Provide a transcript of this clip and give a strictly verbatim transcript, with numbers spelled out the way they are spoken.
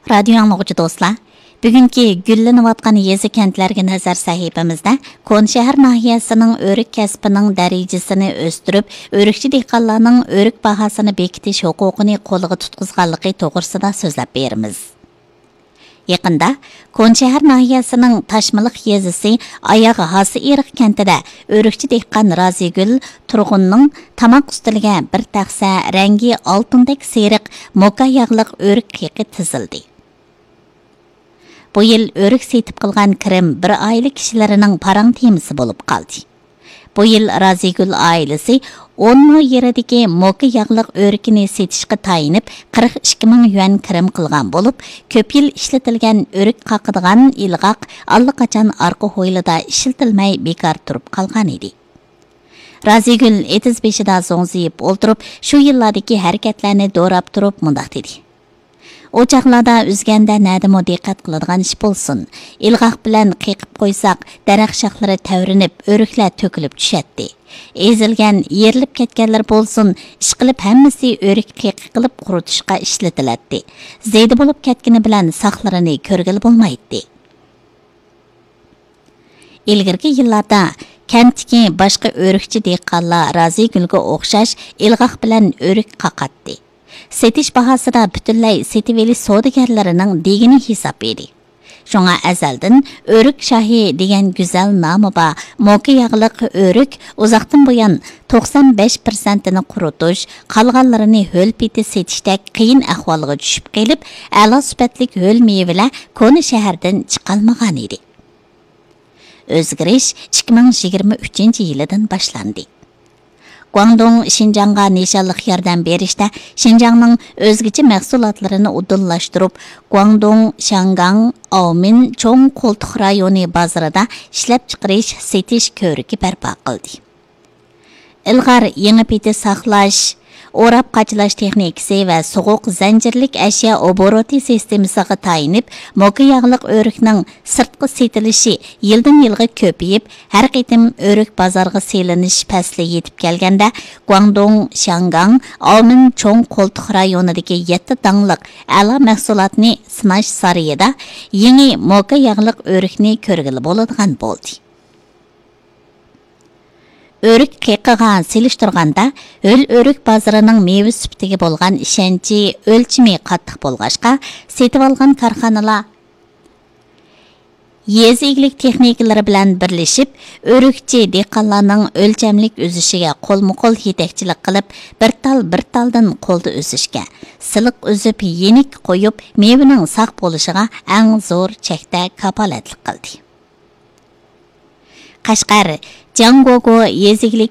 رادىيو ئاڭلىغۇچى دوستلار، بۈگۈنكى گۈللىنىۋاتقان يېزا-كەنتلەرگە نەزەر سەھىپىمىزدە كونىشەھەر ناھىيەسىنىڭ ئۆرۈك كەسپىنىڭ دەرىجىسىنى ئۆستۈرۈپ، ئۆرۈكچى دېھقانلارنىڭ ئۆرۈك باھاسىنى بېكىتىش ھوقۇقىنى قولغا تۇتقۇزغانلىقى توغرىسىدا سۆزلەپ بېرىمىز. يېقىندا كونىشەھەر ناھىيەسىنىڭ تاشمىلىق يېزىسى ئاياغ ھاسىئېرىق كەنتىدە ئۆرۈكچى دېھقان رازىگۈل تۇرغۇننىڭ تاماق ئۈستىلىگە بىر تەخسە رەڭگى ئالتۇندەك سېرىق موكا ياغلىق ئۆرۈك قېقى تىزىلدى. بۇ يىل ئۆرۈك سېتىپ قىلغان كىرىم بىر ئائىلە كىشىلىرىنىڭ پاراڭ تېمىسى بولۇپ قالدى. بۇ يىل رازىگۈل ئائىلىسى ئون مو يېرىدىكى موكا ياغلىق ئۆرۈكىنى سېتىشقا تايىنىپ، قىرىق ئىككى مىڭ يۈەن كىرىم قىلغان بولۇپ، كۆپ يىل ئىشلىتىلگەن ئۆرۈك قاقىدىغان ئىلغاق ئاللىقاچان ئارقا ھويلىدا ئىشلىتىلمەي بىكار تۇرۇپ قالغان ئىدى. رازىگۈل ئېتىز بېشىدا زوڭزىيىپ ئولتۇرۇپ، شۇ يىللاردىكى ھەرىكەتلەرنى دوراپ تۇرۇپ مۇنداق دېدى: ئۇ چاغلاردا ئۈزگەندە نەدىمۇ دىققەت قىلىدىغان ئىش بولسۇن، ئىلغاق بىلەن قېقىپ قويساق، دەرەخ شاخلىرى تەۋرىنىپ، ئۆرۈكلەر تۆكۈلۈپ چۈشەتتى. ئېزىلگەن، يېرىلىپ كەتكەنلىرى بولسۇن، ئىشقىلىپ ھەممىسى ئۆرۈك قېقى قىلىپ قۇرۇتۇشقا ئىشلىتىلەتتى. زېدە بولۇپ كەتكىنى بىلەن ساقلىرىنى كۆرگىلى بولمايتتى. ئىلگىرىكى يىللاردا كەنتتىكى باشقا ئۆرۈكچى دېھقانلار رازىگۈلگە ئوخشاش ئىلغاق بىلەن ئۆرۈك قاقاتتى. سېتىش باھاسىدا پۈتۈنلەي سېتىۋېلىش سودىگەرلىرىنىڭ دېگىنى ھېساب ئىدى. شۇڭا ئەزەلدىن ئۆرۈك شاھى دېگەن گۈزەل نامى بار موكا ياغلىق ئۆرۈك ئۇزاقتىن بۇيان توقسان بەش پىرسەنتىنى قۇرۇتۇش، قالغانلىرىنى ھۆل پېتى سېتىشتەك قىيىن ئەھۋالغا چۈشۈپ قېلىپ، ئەلا سۈپەتلىك ھۆل مېۋىلەر كونا شەھەردىن چىقالمىغانىدى. ئۆزگىرىش ئىككى مىڭ يىگىرمە ئۈچىنچى يىلىدىن باشلاندى. گۇاڭدۇڭ شىنجاڭغا نىشانلىق ياردەم بېرىشتە شىنجاڭنىڭ ئۆزگىچە مەھسۇلاتلىرىنى ئۇدۇللاشتۇرۇپ، گۇاڭدۇڭ شياڭگاڭ ئاۋمىن چوڭ قولتۇق رايونى بازىرىدا ئىشلەپچىقىرىش، سېتىش كۆرۈكى بەرپا قىلدى. ئىلغار يېڭى پېتى ساقلاش، ئوراپ قاچىلاش تېخنىكىسى ۋە سوغۇق زەنجىرلىك ئەشيا ئوبوروتى سىستېمىسىغا تايىنىپ، موكا ياغلىق ئۆرۈكنىڭ سىرتقا سېتىلىشى يىلدىن يىلغا كۆپىيىپ، ھەر قېتىم ئۆرۈك بازارغا سېلىنىش پەسلى يېتىپ كەلگەندە، گۇاڭدۇڭ شياڭگاڭ ئاۋمىن چوڭ قولتۇق رايونىدىكى يەتتە داڭلىق ئەلا مەھسۇلاتنى سىناش سارىيىدا يېڭى موكا ياغلىق ئۆرۈكنى كۆرگىلى بولىدىغان بولدى. ئۆرۈك قېقىغا سېلىشتۇرغاندا، ھۆل ئۆرۈك بازىرىنىڭ مېۋە سۈپىتىگە بولغان ئىشەنچى، ئۆلچىمى قاتتىق بولغاچقا، سېتىۋالغان كارخانىلار يېزا ئىگىلىك تېخنىكلىرى بىلەن بىرلىشىپ، ئۆرۈكچى دېھقانلارنىڭ ئۆلچەملىك ئۈزۈشىگە قولمۇ قول يېتەكچىلىك قىلىپ، بىر تال بىر تالدىن قولدا ئۈزۈشكە، سىلىق ئۈزۈپ، يېنىك قويۇپ، مېۋىنىڭ ساق بولۇشىغا ئەڭ زور چەكتە كاپالەتلىك قىلدى. قەشقەر جياڭگوگو يېزا ئىگىلىك